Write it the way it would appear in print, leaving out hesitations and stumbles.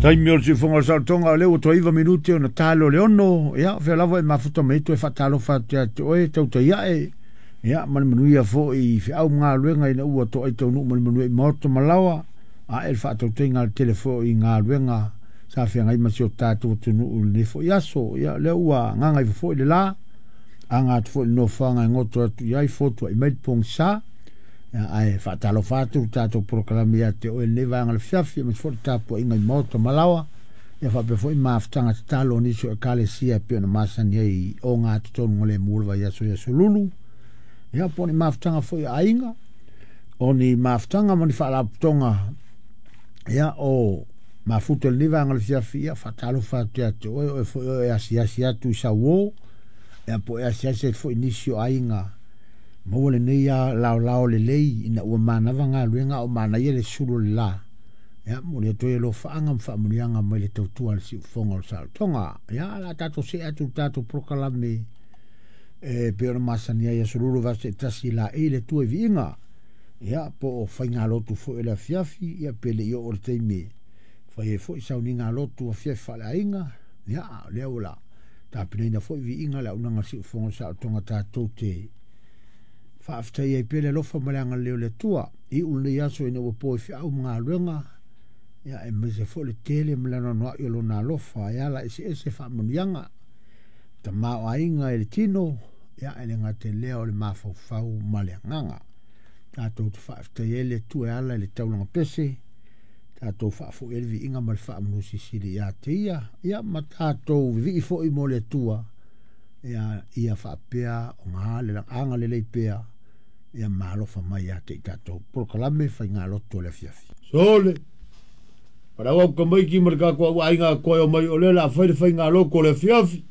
Taimi o le siufofoga o le saolotoga o lea ua toe 9 minute ona talo le 6. Ia, o fea lava e mafuta mai ai toe faatalofa atu ia te oe, tautai ae. Ia, ma le manuia foi i feau ma galuega ina ua toai taunuu ma le manuia i maota ma laoa. Ae le faatautaiga a le tele foi i galuega sa feagai ma si o tatou atunuu i lenei foi aso. Ia, o lea ua gagaifo foi le la, aga atu foi i le nofoaga e goto atu i ai, fotuai mai le pogisa. Ae faatalofa atu le tatou polokalame ia te oe i lenei vaega o le afiafi, aemaise foi le tapuaiga i maota ma laoa, ia faapea foi mafutaga tatalo a nisi o ekalesia e pei ona masani ai i ogatotonu o le mu o le vaiaso i Aso Lulu, ia po o ni mafutaga foi a aiga, o ni mafutaga ma ni faalapotopotoga, ia o mafuta i lenei vaega o le afiafi, ia faatalofa atu ia te oe, oe foi oe e asiasi atu i sauo, ia po o e asiasi atu foi i nisi o aiga, maua lenei laolao lelei ina ua manava galuega a o manaia le sulu o le la. Ia, momoli atu ai alofaaga ma faamanuiaga mai le tautua a le siufofoga o le saolotoga. Ia, o le a tatou see atu i le tatou polokalame e pei ona masani ai Aso Lulu vaiaso taitasi laei le Atua i viiga. Ia, po o faigalotu foi o le afiafi, ia pe le i oo i le taimi e fai ai foi sauniga lotu afiafi faaleaiga. Ia, a o lea ua tapenaina foi viiga le auaunaga a le siufofoga o le saolotoga tatou te faafetai ai pea le alofa ma le agalelei o le Atua. Iu lenei aso ina ua po i feau ma galuega, ia aemaise foi le tele ma le anoanoai o lona alofa e ala eseese faamanuiaga. Tamaoaiga i le tino, ia e le gata i lea o le mafaufau ma le agaga. Tatou te faafetai ai le Atua e ala i le taulaga pese, tatou faafoi ai le viiga ma le faamanu silisili ia te ia, ia ma tatou vivii foi mo le Atua, ia, ia faapea ona agalelei pea, ia ma alofa mai ia te i tatou. Polokalame faigalotu o le afiafi. Sole, Palau au tamaiti ma le tatou aiga toe o mai o lea o le a fai le faigalotu o le afiafi.